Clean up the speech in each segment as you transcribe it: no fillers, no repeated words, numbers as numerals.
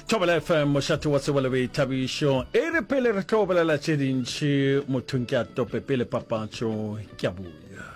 Thobela FM, mošate wa tsebo le boithabišo. E re pele re tlo bolela tše dintši, mothong ke a tope pele papatšo ke a boya.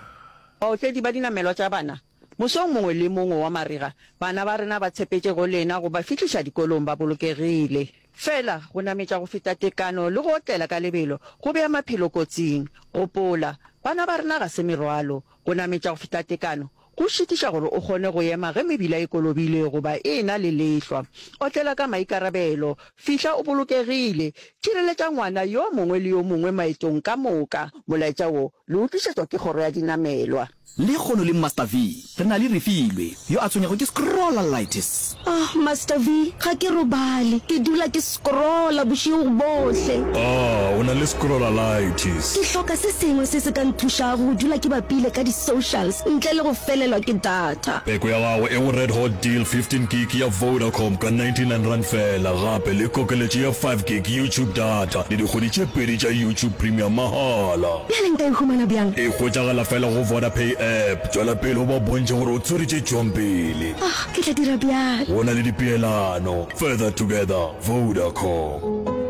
Baotledi ba dinamelwa tša bana, mosong mongwe le mongwe wa marega, bana ba rena ba tshepetše go lena go ba fihliša dikolong ba bolokegile. Fela, go nametša go feta tekano le go otlela ka lebelo go bea maphelo kotsing. Gopola, bana ba rena ga se merwalo. Go nametša go feta tekano go šitiša gore o kgone go ema ge mebila e kolobile goba e e-na le lehlwa. Otlela ka maikarabelo. Fihla o bolokegile. Tšhireletša ngwana yo mongwe le yo mongwe maetong ka moka. Molaetša wo le o tlišetšwa ke Kgoro ya Dinamelwa. Lekgono le Master Vee re na le Refilwe yo a tshwenyago ke scrollalitis. Ah, Master Vee, ga ke robale. Ke dula ke scrolla bošego bohle. Ah, o na le scrollalitis. Ke hloka se sengwe se se ka nthušago go dula ke bapile ka di-socials ntle le go felelwa ke data. Peko ya gago e go Red Hot Deal 15 Gig ya Vodacom ka R99 feela, gape le kokeletšo ya 5 Gig YouTube data le dikgwedi tše pedi tša YouTube Premium mahala. Bjale nka e humana bjang? E hwetšagala fela go Vodapay app. Tšwela pele o ba bontšhe gore o tswere tše tšwang pele. Ah, ke tla dira bjalo. Go na le dipeelano. Further together, Vodacom.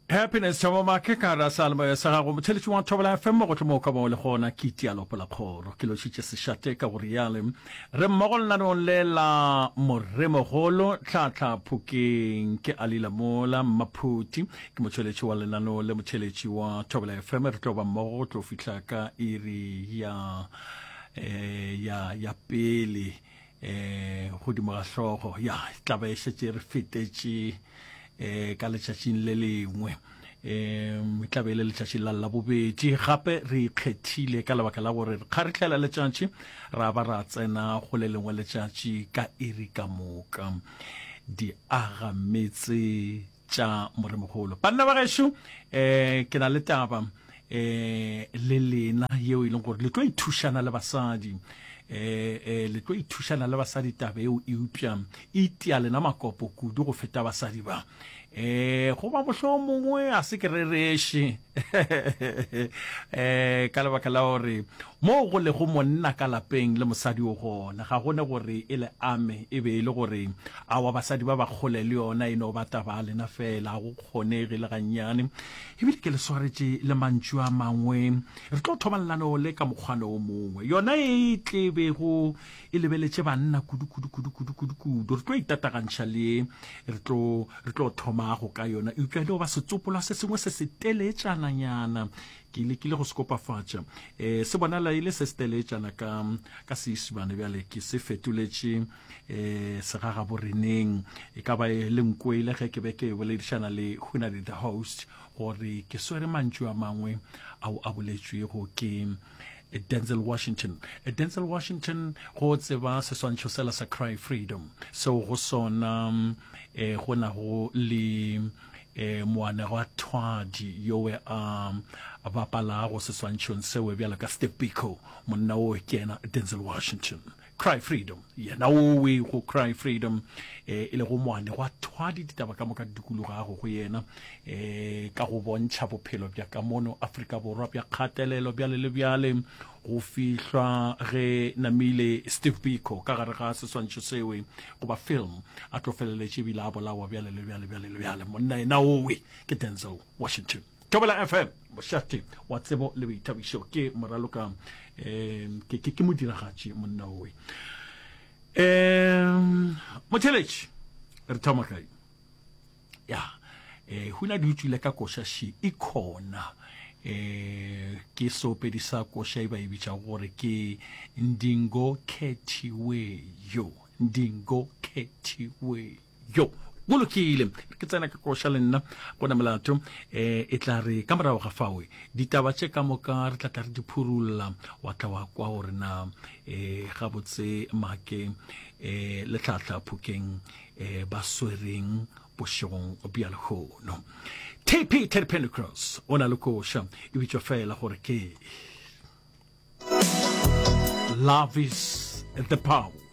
Happiness Thabo Make ka gare seyalemoya sa gago motheletši wa Thobela FM mo gohle mo o ka bago le gona ke itia lopo la kgoro ke lošitše sešate ka go riale re mmogo lenaneong le la moremogolo tlhatlha phokeng ke Alila Mola Mmaphuti Ke motšweletši wa lenaneo le motšheletši wa Thobela FM. Re tlo ba mmogo go tlo fihla ka iri ya eh, ya ya pele eh godimo ga hlogo ya tla ba e šetše re fetetše eh ka letšatšing le lengwe um e tla be e le letšatši la labobedi gape re ikgethile ka lebaka la gore re kgarihlela letšatši ra ba ra tsena go le lengwe letšatši ka iri ka moka di aga metse tša Moremogolo. Banna ba gešo, um ke na le taba um le lena yeo e leng gore le tlo ithušana le basadi um le tlo ithušana le basadi taba eo eupša e itia lena makopo kudu go feta basadi ba um goba mohlomongwe a se ke rereše um ka lebaka la gore Moo go lego monna ka lapeng le mosadi o gona, ga go ne gore e le ame e be e le gore aowa basadi ba ba kgole le yona e no ba taba ya lena feela, ga go kgonege le gannyane. Ebile ke le swaretše le mantšu a mangwe. Re tlo thoma lenaneo le ka mokgwana o mongwe. Yona e tle bego e lebeletše banna kudu kudu kudu kudu kudu kudu. Re tlo itatagantšha le ye re tlo re tlo thomago ka yona, eupša e no ba setsopolwa se sengwe se se teletšananyana. Ke lekile go se kopafatša. E, se bonala e le se se teleetšana ka, ka Seisimane bjale ke se fetoletše e, segagaboreneng. E ka ba e le nkwele ge ke be ke boledišana le Hunadi the host gore ke swere mantšu a mangwe ao a boletšwego ke Denzel Washington. Denzel Washington go tseba seswantšho sela sa Cry Freedom seo go sona eh, go nago le E, moanegwathwadi yowe a bapalago seswantšhong sewe bjalo ka Steve Biko, monna owe ke yena Denzel Washington. Cry Freedom, yena owe go Cry Freedom, e, e lego moanegwathwadi, ditaba ka moka di dikologago go yena, e, ka go bontšha bophelo bja ka mono Afrika Borwa bja kgatelelo bjale le bjale, go fihlwa ge namile Steve Biko ka gare ga seswantšho sewe goba film a tlo feleletše ebile a bolawa bjale le bjale bjale le bjale. Monna ena owe ke Denzel Washington. Thobela FM, mošate wa tsebo le boithabišo, ke moraloka um ke, ke, ke modiragatši monna owe. Um motheletši re thoma kae? Ya, eh, huna di utswile ka koša še e khona. Eh, ke seopedi sa koša e ba e bitšago gore ke Ndingo Khethiweyo. Ndingo Khethiweyo. Go lokile, ke tsena ka koša le nna go na molato. Eh, e tla re ka morago ga fawe ditaba tše ka moka re tla tla re di phurulla, wa tla wa kwa gore na eh, gabotse make eh, le tlhahla phokeng eh, ba swereng bošegong bja lehono. TP Teddy Pendergrass o na le koša e bitšwa fela gore ke Love is the Power.